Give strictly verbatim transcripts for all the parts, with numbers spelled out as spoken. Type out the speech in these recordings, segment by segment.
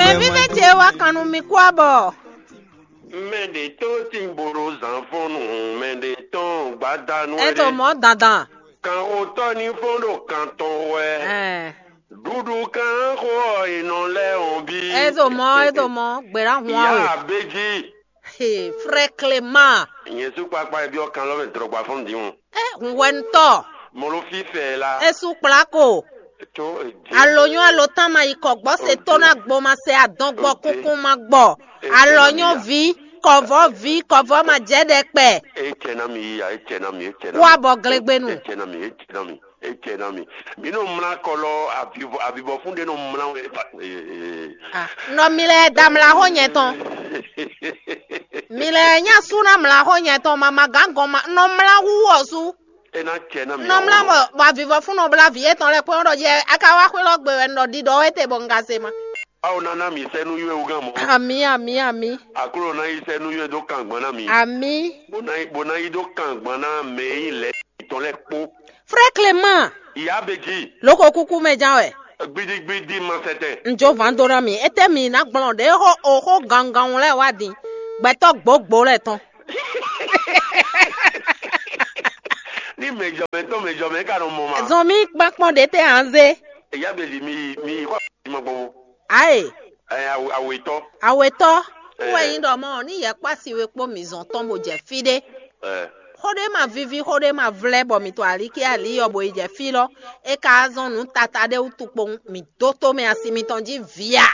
Ɖevi mɛ ce wá kan nú mi kú abɔ. Mɛ ɖě tɔn tín bolo zǎnfɔ́nnu, mɛ ɖě tɔn gbadanu. Ɛ ɖo mɔ̌ dandan. Kanxotɔ́ ní fɔ́n ɖo kan tɔn wɛ. Ɛ. Ɖuɖu kanxo ɔ́, è nɔ lɛ́ ɔn bí. Ɛ ɖo mɔ̌, ɛ ɖo mɔ̌, gběɖá hun awe. Yá abéjí. He, frère Clément. Nyɛ sú kpakpa e byɔ́ kan lɔ mɛ drɔgba fɔ́n din o. Ɛ, hun wɛ ntɔ. Mɔ ló fí fɛ la. Esu kplako. Tó èdè. Alonyɔ alotama yi kɔ gbɔ se tó na gbɔ ma se adɔn gbɔ kunkun ma gbɔ. Alonyɔ vi, kɔvɔ vi, kɔvɔ ma jɛ ɖɛ kpɛ. E cɛ na mi ya, e cɛ na mi, e cɛ na mi. Kó abɔ glegbenu. E cɛ na mi, e cɛ na mi, e cɛ na mi. Mi nɔ mla kɔlɔ avivɔ avivɔ fún ɖe nɔ mla wɛ. Ah, nɔ mi lɛ da mla xó nyɛ tɔn. Mi lɛ nya sú na mla xó nyɛ tɔn mama gán gɔn ma nɔ mla hu wɔ sú. E ná cɛ ná mi. Nɔ mla bɔ bɔ avivɔ fún nɔ bla vi etɔn lɛ kpɔn ɖɔ jɛ aka wá xwé lɔ gbe wɛ nɔ ɖiɖɔ wɛ te bɔ nga se ma. Awo nana mi sɛ nú yɔ́ wúgán mɔ. Ami, ami, ami. Aklo ná yi sɛ nú yɔ́ dó kan gbɔn ná mi. Ami. Bó ná yi bó ná yi dó kan gbɔn ná mɛ yi lɛ tɔn lɛ kpó. Frère Clément. Ìyá bèjì. Lóko kúkú mɛ ján wɛ. Gbidigbidi ma sɛtɛ. N jó van dó ná mi. Étɛ́ mi ná gblɔn ɖě xó oxó gangan lɛ́ɛ wá din. Gbɛtɔ́ gbǒgbǒ lɛ́ɛ tɔn. Ní mɛjɔmɛ tɔn mɛjɔmɛ ka nɔ mɔ ma. Zɔn mi kpakpɔn ɖě tɛ anze. Ìyá bèjì mi yi mi yi kɔ ma gbɔn. Aye. Ɛ awe- awetɔ. Awetɔ. Ɛ. Wɛ nyi ɖɔ mɔ ní yɛ kpasi we kpó mi zɔn tɔn bo jɛ fi ɖé. Ɛ. Xó ɖé ma vivi xó ɖé ma vlɛ bɔ mi to ali kí ali yɔ bo yi jɛ fi lɔ. E ka zɔn nǔ tata ɖé wútu kpowun mi dó tó mɛ asi mitɔn jí via.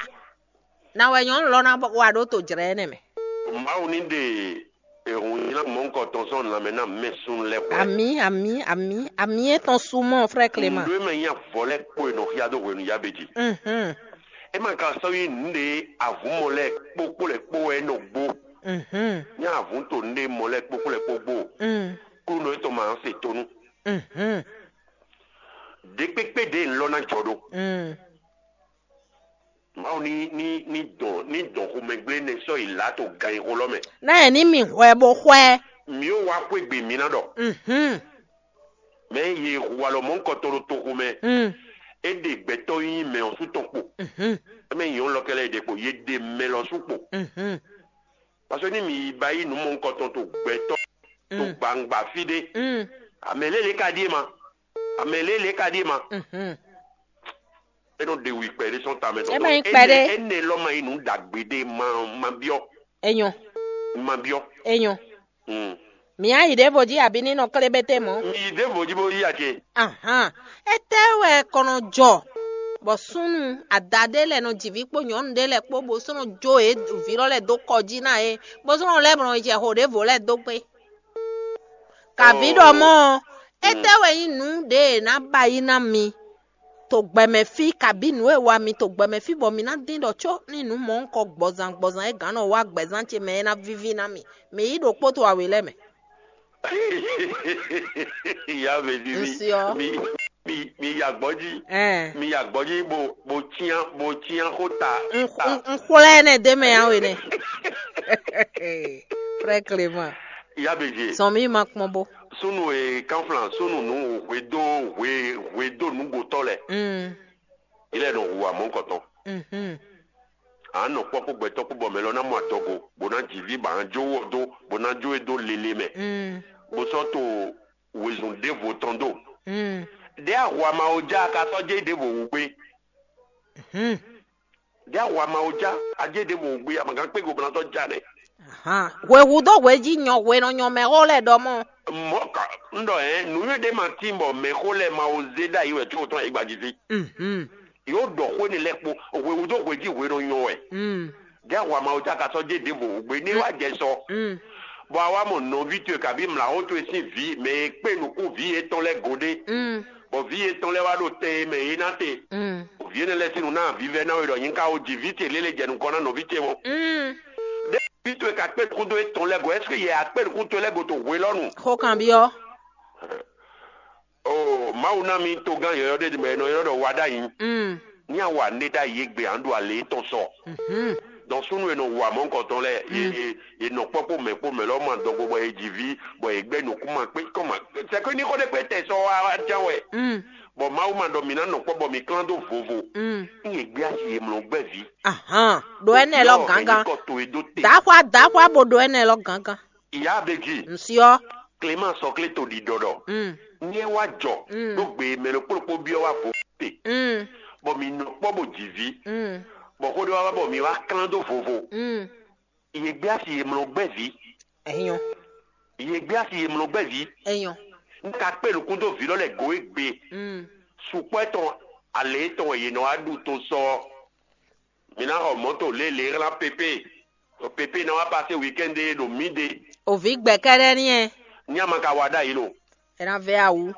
Na wɛ nyɔnu lɔ ná wa ɖó to jlɛ̌ énɛ́ mɛ. Mawu ní ɖe ehun nylá mɔ̌hunkɔtɔn sɔ́ lanmɛ ná mɛ sun lɛ́ hwɛ. Ami, ami, ami, ami etɔn sumɔ, frère Clément. Nǔɖé mɛ nyí avɔ lɛ́ kpó e nɔ xyá dó hwenu yá bě jí. Mhm. É ma ka sɔ́ nyí nǔɖé avǔmɔ lɛ́ɛ kpó kpó lɛ́ kpó wɛ é nɔ gbó. Mhm. Nyí avǔ to nǔɖé mɔ lɛ́ɛ kpó kpó lɛ́ kpó gbó. Mm. Klúnɔ étɔn ma se tónú. Mhm. Ɖě kpékpé ɖě nlɔ́ ná jɔ ɖó. Mm. Mawu ní ní ní dɔn ní dɔn xomɛgblé nɛ sɔ́ yi lǎ to ganxixo lɔ mɛ. Ná ɛ ní mi hwɛ bó hwɛ. Mǐ ó wá xwé gbe mǐ ná ɖɔ. Mhm. Mɛ ye hu alɔ mɔ̌hunkɔtɔn ɖo toxo mɛ. Mm. É ɖe gbɛtɔ́ nyí mɛ ɔ́ sú tɔn kpo. Mhm. É mɛ nyɔ̌nu lɔ kɛlɛ ɖe kpo, ye ɖe mɛ lɔ sú kpo. Mhm. Parce que ní mi yi ba yí nǔ mɔ̌hunkɔtɔn to gbɛtɔ́ to Mm. gbangba fí ɖé. Mm. Amɛ lélẹ̀ ka ɖíe ma. Amɛ lélẹ̀ ka ɖíe ma. Mhm. É nɔ ɖe wi kpɛɖé sɔn tamɛ tɔn. É ma nyí kpɛɖé. Énɛ́ lɔ ma nyí nǔ ɖagbe ɖé ma ma byɔ́. Enyɔ. Ma byɔ́. Enyɔ. Mm. Mǐ á yi ɖěvo jí abǐ ní nɔ klé bété mɔ̌. Mi yi ɖěvo jí bó yí ace. Ahan. Étɛ́ wɛ kɔnɔ jɔ bɔ súnnu adaɖé lɛ́ɛ nɔ ji vǐ kpó nyɔ̌nu ɖé lɛ́ɛ kpó bó sɔ́ nɔ jó yě vǐ lɔ lɛ́ɛ dó kɔ jí ná yě, bó sɔ́ nɔ lɛ́ mɔ jɛ xo ɖěvo lɛ́ɛ dó gbé. Kaví ɖɔ mɔ́ ɔ́, étɛ́ wɛ nyí nǔ ɖě è nǎ ba yí ná mi to gbɛmɛ fí, kabí nǔ e wa mi to gbɛmɛ fí bɔ mi ná dín ɖɔ có ní nǔ mɔ̌hunkɔ gbɔzan gbɔzan e gǎn nɔ wá gbɛzán ce mɛ é ná víví ná mi. Mǐ yi ɖokpó to awě lɛ́ɛ mɛ. Ìyá mɛ ní mi Nsí ɔ́. Mi mi mi ya gbɔdzi. Ɛn. Mi ya gbɔdzi bo bo tiã bo tiã xó ta. N- ta. N- n xwlɛ nɛ de mɛ awe nɛ. Frère Clément. Ìyá bèjì. Sɔn mi ma kpɔn bo. Sunu e kanflan sunu nu hwedo hwe hwedo nugotɔ lɛ. Mm. Ilé nɔ hu amɔ kɔtɔn. Mhm. A nɔ kpɔ kó gbɛtɔ kó bɔ mɛ lɔ na mɔ adɔgo bó ná dzi vi ba ná jó wɔ dó bó ná jó e dó lele mɛ. Mm. Bó sɔ to wezun ɖěvo tɔn dó. Mm. Ɖé ahwa ma o já ka sɔ jɛ ɖěvo wú gbé. Mhm. Ɖé ahwa ma o já a jɛ ɖěvo wú gbé a ma gán kpé go bó ná sɔ já nɛ. Ahan. Hwe hu dó hwe jí nyɔ hwe nɔ nyɔ mɛ xó lɛ ɖɔ mɔ. Mɔ ka n ɖɔ ɛ nuyɔ́ ɖé ma tín bɔ mɛ xó lɛ ma o zé ɖ'ayǐ wɛ có tɔn ayǐ gbají fí. Mhm. Yóò ɖɔ xó énɛ́ lɛ́ɛ kpó hwe hu dó hwe jí hwe nɔ nyɔ wɛ. Mm. Ɖé ahwa ma o já ka sɔ jɛ ɖěvo wú gbé ní wá jɛ sɔ. Mm. Bɔ a wá mɔ nɔví towe kabí mlǎxó towe sín vǐ mɛ e kpé nukún vǐ yětɔn lɛ́ɛ gǒ ɖé. Mm. Bɔ vǐ yětɔn lɛ́ɛ wá ɖo tɛn e mɛ yě ná te. Mm. Vǐ énɛ́ lɛ́ɛ sín nǔ ná vívɛ́ ná we ɖɔ nyí ka o ji vǐ ce lélẹ̀ jɛ nukɔn ná nɔví ce mɔ. Mm. Ɖé vǐ towe ka kpé nukún dó étɔn lɛ́ɛ go, ɛseke yɛ a kpé nukún towe lɛ́ɛ go to hwe lɔ nu? Xó kan byɔ́. O Mawu ná mi togán yɔ̌yɔ́ ɖé mɛ e nɔ ylɔ́ ɖɔ wa ɖ'ayǐ. Mm. Ní a wa nɖé ɖ'ayǐ égbé a nǎ ɖu alě étɔn sɔ. Mhm. Donc súnnu e nɔ wu amɔ̌ nukɔntɔn lɛ́ɛ, ye ye ye nɔ kpɔ́ kpó mɛ kpó mɛ lɔ́ ma dɔgo bɔ ye ji ví, bɔ ye gbɛ́ nǔkún ma kpé kɔn ma. C'est que ní xó ɖé kpé tɛ sɔ wá wá ján wɛ. Mm. Bɔ Mawu ma ɖɔ mi ná nɔ kpɔ́ bɔ mi klán dó vovo. Mm. Ní ye gbé asi ye mlɔ gbɛ́ ví. Ahan, ɖo ɛnɛ lɔ Yɔ, gángan. Kɔ to e dó te. Daxwa daxwa bo ɖo ɛnɛ lɔ gángan. Ìyá Abéji, Ŋsiɔ. Clément sɔklé to ɖiɖɔ ɖɔ. Mm. Ní ɛ wá jɔ Mm. Ɖó gbe mɛ ɖokpó ɖokpó byɔ́ wá vo te. Mm. Bɔ mi nɔ kpɔ́ bó ji ví. Mm. Bɔ xó ɖé wá wá bɔ mi wá klán dó vovo. Mm. Ye gbé asi ye mlɔ gbɛ́ ví. Enyɔ. Ye gbé asi ye mlɔ gbɛ́ ví. Enyɔ. Ní ka kpé nukún dó vǐ lɔ lɛ go e gbe. Mm. Sukpɔ́ tɔn alě tɔn wɛ yě nɔ wá ɖu to sɔ. Mi ná xɔ mɔ̌to lě lě hlán pépé. Pépé ná wá pasé weekend ɖo mǐ ɖe. Òví gbɛ̌kɛ́ ɖɛ́ ní ɛ. Ní a ma ka wa ɖ'ayǐ lo. Ɛ ná vɛ awu.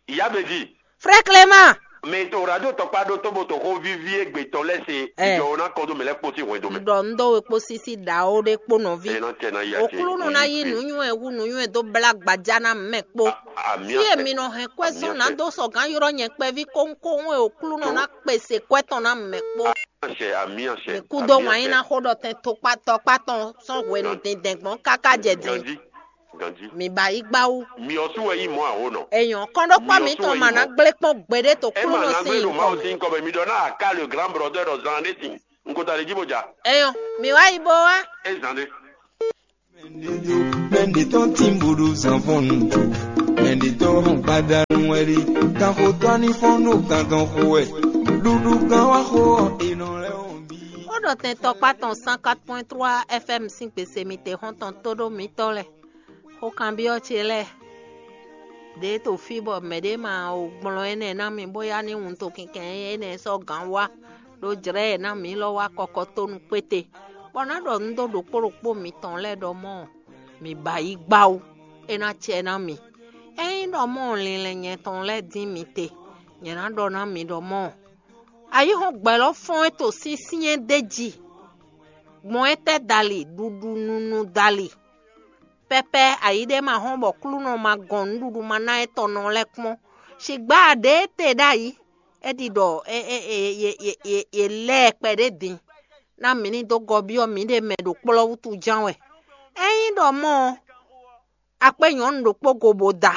Ìyá Bèjì. Frère Clément. Mɛ to radio tɔkpá ɖó tó bo to xó víví égbé tɔn lɛ́ se. Ɛ. Ìjọ wo ná kɔ dó mɛ lɛ́ kpó sín hwɛndo mɛ. Ɖɔ un ɖó we kpó sísí ɖawo ɖé kpó nɔví. Ɛ ná tɛ ná yí ake. Oklúnɔ ná yí nǔnywɛ hu nǔnywɛ dó blá gbaja ná mɛ kpó. A- ami Fí e ase. Mi nɔ hɛn kwɛ́ Ami sɔ́ ná ase. Dó sɔ gǎn ylɔ́ nyɛ kpɛví kónkón e Oklúnɔ ná kpèsè kwɛ́ tɔn ná mɛ kpó. Ami ase, ami ase. Mi kú dó wǎn yí ná xó ɖɔ tɛn tokpatɔkpá tɔn sɔ́ hwenu dindɛn gbɔn káká jɛ din. Ganji, ganji. Mi ba yí gbá wú. Mi ɔ́ sú wɛ yí mɔ àwònɔ. Èèyàn kɔn ɖó kpá Mi ɔ́ mi sú tɔn wɛ mà yí ná mɔ. Gblé kpɔ́n gbéɖé to Ɛ Oklúnɔ ma ná sín gbé ɖo nyǐkɔ Mawu mɛ. Sín kɔ mɛ. Mi ɖɔ ná àká le grand brother ɖɔ zan ɖé sin. N ko ta ɖe jí bó ja. Èèyàn, mi wá yí bó wá. Ɛ zan ɖé. Mɛɖetɔ́ tínbodó zǎnfɔ́nnu tó, mɛɖetɔ́ hɔn gbadanu wɛ ɖe, kanxotɔ́ ní fɔ́n ɖo gantɔn xo wɛ, ɖuɖu gán wá xo ɔ́, è nɔ lɛ́ wɔn bí. Ó ɖɔ tɛn tɔkpá tɔn cent quatre point trois F M sín gbèsè mi te xɔ́ntɔn tó ɖó mitɔ́ lɛ́ɛ. Xó kanbyɔ́ ce lɛ́ɛ ɖě to fí bɔ mɛɖé ma o gblɔ́n énɛ́ ná mi bóyá ní wuntun kinkɛn énɛ́ sɔ́ gǎn wá ɖó jlɛ̌ e ná mǐ lɔ wá kɔkɔ tó nú kpéte, bɔ ná ɖɔ nǔ dó ɖokpó ɖokpó mitɔn lɛ́ɛ ɖɔ mɔ̌, mi ba yí gbá wú, é ná cɛ ná mi. Ényí ɖɔ mɔ̌ linlɛn nyɛ tɔn lɛ́ɛ dín mi te, nyɛ ná ɖɔ ná mi ɖɔ mɔ̌, ayǐhɔ́ngbe lɔ fɔ́n é to syɛ́nsyɛ́n d'é jí, gbɔn étɛ́ dali ɖuɖu nunu dali. Pɛ́pɛ́ ayǐ ɖé ma hɔ́n bɔ Klúnɔ ma gɔn nǔɖuɖu ma ná étɔn nɔ lɛ́ɛ kpɔ́n. Sigbǎ ɖě e te ɖ'ayǐ, é ɖi ɖɔ è lɛ́ ɛ kpɛɖé din, ná mǐ ní dó gɔ́ byɔ́ mǐɖée mɛ ɖo kplɔ́ wútu ján wɛ. Ényí ɖɔ mɔ̌ ɔ́, akpé nyɔ̌nu ɖokpó go bó da,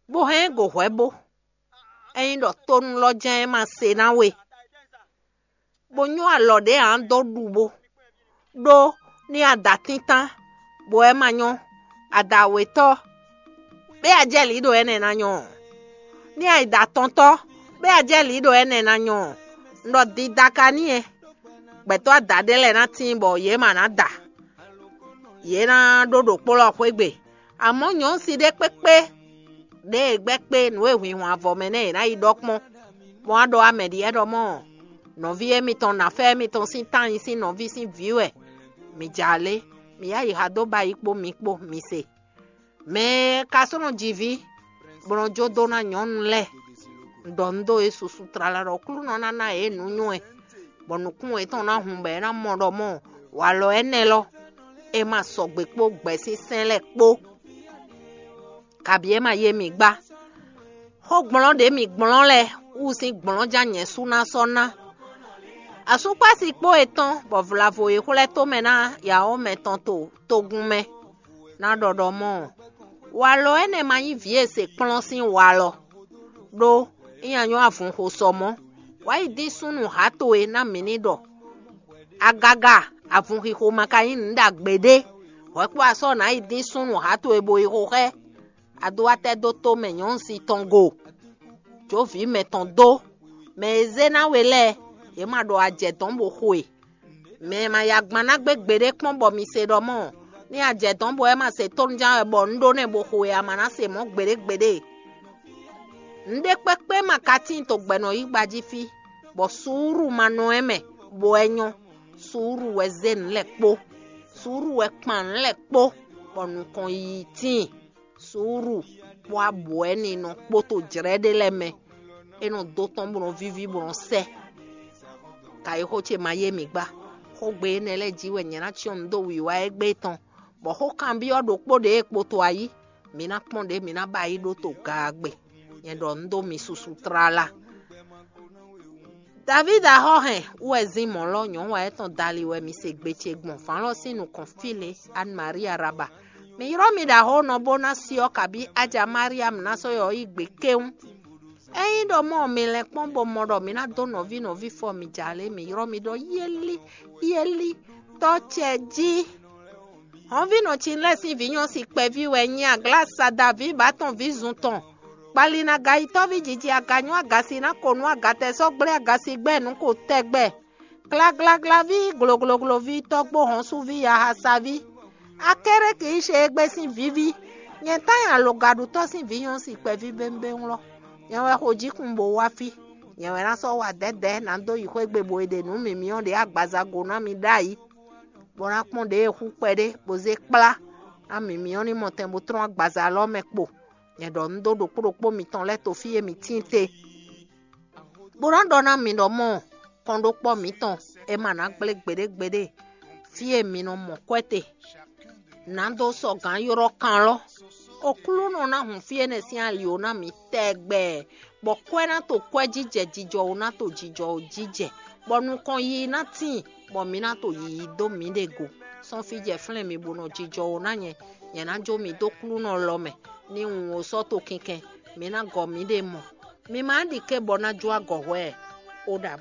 bó hɛn ɛ go hwɛ̌ bó. Ényí ɖɔ tónú lɔ jɛ́n é ma se ná we, bó nyɔ́ alɔ ɖě ǎ dó ɖu bó, ɖó ní a da tíntán, bɔ é ma nyɔ́, a da wětɔ́, bɛ́ a jɛ lǐ ɖo énɛ́ ná nyɔ́ ɔ́. Ní a yi da atɔntɔ́, bɛ́ a jɛ lǐ ɖo énɛ́ ná nyɔ́ ɔ́. Un ɖɔ dida ka n'i ɛ, gbɛtɔ́ ada ɖé lɛ́ɛ ná tíin bɔ yě ma ná da. Yě ná ɖó ɖo kplɔ́ xwé gbe. Amɔ̌ nyɔ̌nu si ɖé kpékpé ɖěe gbɛ́ kpé nǔ e hwǐnhwan avɔ mɛ nɛ́ è nǎ yi ɖɔ kpɔ́n, bó wá ɖɔ amɛ ɖi ɛ́ ɖɔ mɔ̌, nɔví émítɔn nǎfɛ́ émítɔn sín tányi sín nɔví sín vǐ wɛ. Mi ja lé, mi yá yi ha dó ba yi kpó mi kpó mi se. Mɛ e ka sɔ́ nɔ ji vǐ, bó nɔ́ jó dó ná nyɔ̌nu lɛ́ɛ, un ɖɔ nǔ dó yě susu tlala ɖɔ Aklúnɔ ná ná yě nǔnywɛ́, bɔ nǔkún yětɔn ná hun bɔ é ná mɔ ɖɔ mɔ̌, walɔ énɛ́ lɔ, é ma sɔgbe kpó gbɛ̌ sín sɛ́n lɛ́ɛ kpó, kabǐ é ma yé mi gbá. Xógblɔ́ ɖě mi gblɔ́n lɛ́ɛ wú sín gblɔ́nján nyɛ sú ná sɔ́ ná. Asúkpási kpó e tɔn bɔ vlavo e xwlɛ́ tomɛ ná yǎwó mɛtɔn to togun mɛ ná ɖɔ ɖɔ mɔ̌, walɔ énɛ́ ma nyí vǐ e se kplɔ́n sín walɔ, ɖó é nya nyɔ́ avun xo sɔ mɔ̌. Wǎ yi dín súnnu hǎ towe ná mǐ ní ɖɔ. Agaga avun xixo ma ka nyí nǔ ɖagbe ɖé. Hwɛ kpó asɔ́ nǎ yi dín súnnu hǎ towe bo yi xo xɛ. A dó wá tɛ́ dó tó mɛ nyɔ̌nu si tɔn go. Jǒví mɛ tɔn dó. Mɛ e zé ná we lɛ́ɛ, yě ma ɖo ajɛ dɔn bo xo e. Mɛ e ma ya gban ná gbé gbeɖé kpɔ́n bɔ mi se ɖɔ mɔ̌, ní ajɛ dɔn bɔ é ma se tónúján wɛ bɔ un ɖó nɛ́ bo xo e a ma ná se mɔ̌ gbeɖé gbeɖé. Nǔɖé kpɛ́kpɛ́ ma ka tíin to gbɛ̌nɔ yí gba jí fí, bɔ suúru ma nɔ ɛ mɛ, bɔ ɛ nyɔ́. Suúru wɛ zé nǔ lɛ́ɛ kpó. Suúru wɛ kpan nǔ lɛ́ɛ kpó, bɔ nukɔn yiyi tíin. Suúru kpó abǔ ɛ́ ní nɔ kpóto jlɛ́ ɖé lɛ́ɛ mɛ. É nɔ dó tɔ́n bó nɔ víví bó nɔ sɛ́. Ka yi xó ce ma yé mǐ gbá. Xógbe énɛ́ lɛ́ɛ jí wɛ nyɛ ná cyɔ́n nǔ dó wǐwá égbé tɔn, bɔ xó kanbyɔ́ ɖokpó ɖě e kpoto ayí, mǐ ná kpɔ́n ɖě mǐ ná ba yí ɖó to gaagbe. Nyɛ ɖɔ nǔ dó mi susu tlala. Davídi axɔ́ hɛn wú wɛ zín mɔ̌ lɔ́ nyɔ̌nu wa étɔn dali wɛ mi se gbe ce gbɔn vǎn lɔ sín nukɔn fí lě, Anne Maria Raba. Mi ylɔ́ mi ɖo axɔ́ nɔ bó ná si ɔ́ kabí ája Mariam ná sɔ́ yɔ yí gbe kéwún. Ényí ɖɔ mɔ mi lɛ́n kpɔ́n bó mɔ ɖɔ mi ná dó nɔví nɔví fɔ mi jà lě, mi ylɔ́ mi ɖɔ yéli yéli tɔ́ ce jí. Hɔnvínɔ Cinlɛ́ɛ sín vǐ nyɔ́ si kpɛví wɛ nyí aglásada vǐ bǎtɔn vǐ zun tɔn. Kpalina gayitɔ́ví jiji aganyú agasi ná ko nú agatɛ sɔ́ gblé agasi gbɛ́ nǔ ko tɛgbɛ. Glaglaglaví, gloglogloví, tɔ́gbó hɔnsuví, yahasaví. Akéré kì í ṣe égbé sín vǐví. Nyɛ tán nyi alogaɖutɔ́ sín vǐ nyɔ́ si kpɛví bémbéŋ lɔ. Nyɛ wɛ xo jíkun bó wá fí. Nyɛ wɛ ná sɔ́ wa dɛ̌dɛ̌ ná dó yi xwé gbe bo e ɖe nǔ mǐmyɔ́ ɖě agbaza go ná mi ɖ'ayǐ, bó ná kpɔ́n ɖě e xú kpɛɖé bó zé kplá ná mǐmyɔ́ ní mɔtɛn bó tlɔ́n agbaza lɔ́ mɛ kpo. Nyɛ ɖɔ un dó ɖokpó ɖokpó mitɔn lɛ́ɛ to fí e mǐ tíin te, bó ná ɖɔ ná mi ɖɔ mɔ kɔnɖókpɔ́ mǐtɔn e ma ná gblé gbeɖé gbeɖé fí e mi nɔ mɔ kwɛ́ te. Nǎ dó sɔgǎn ylɔ́ kan lɔ́. Oklúnɔ ná hun fí énɛ́ sín ali ó ná mǐ tɛgbɛ, bɔ kwɛ́ ná to kwɛ́ jijɛ, jijɔ ó ná to jijɔ ó jijɛ, bɔ nukɔn yiyi ná tíin, bɔ mǐ ná to yiyi dó mǐɖée go. Sɔ́n fí jɛ flɛ́n mi bó nɔ jijɔ ó ná nyɛ, nyɛ ná jó mi dó Oklúnɔ lɔ mɛ, ní un ó sɔ́ to kinkɛn, mǐ ná gɔ mǐɖée mɔ. Mi ma ɖi ké bɔ ná jó agɔ hwɛ ɛ. Ó ɖa